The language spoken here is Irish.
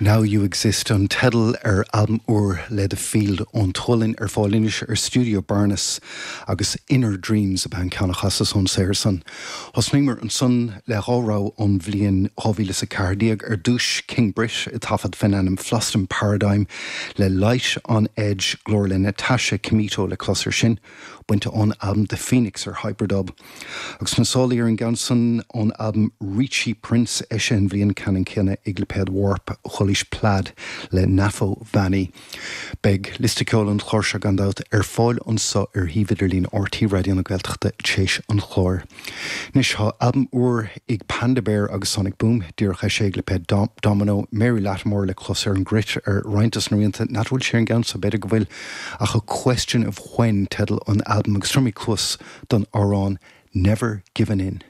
Now You Exist an teideal ar albam úr le The Field ón tSualainn, ar fáil anois ar Studio Barnhus, agus Inner Dreams ab ea an ceann a chasas ón saothar san. Thosnaíomar ansan le dhá rogha ón bhliain 2014, ar dtús King Britt ag taifead fén ainm Floston Paradigm le Light on Edge, glór le Natasha Kmito le clos ar sin, bainte ón albam The Phoenix ar Hyperdub. Agus sna sálaí ar an gceann san ón albam Reachy Prince, eisithe an bhliain ceannann céanna ag lipéad Warp, chualaís Plaid le Nafo Vani. Beidh liosta ceoil an chláir seo gan dabht ar fáil anso ar shuíomh idirlín RTÉ Raidió na Gaeltachta téis an chláir. Anois tá albam úr ag Panda Bear agus Sonic Boom díreach eisithe ag lipéad Domino, Mary Lattimore le clos ar an gcruit ar roinnt dos na rianta, n'fheadar bhfuil sí ar an gceann so, b'fhéidir go bhfuil, ach A Question of When teideal an albaim agus tabharfaimid cluas don amhrán Never Givin' In.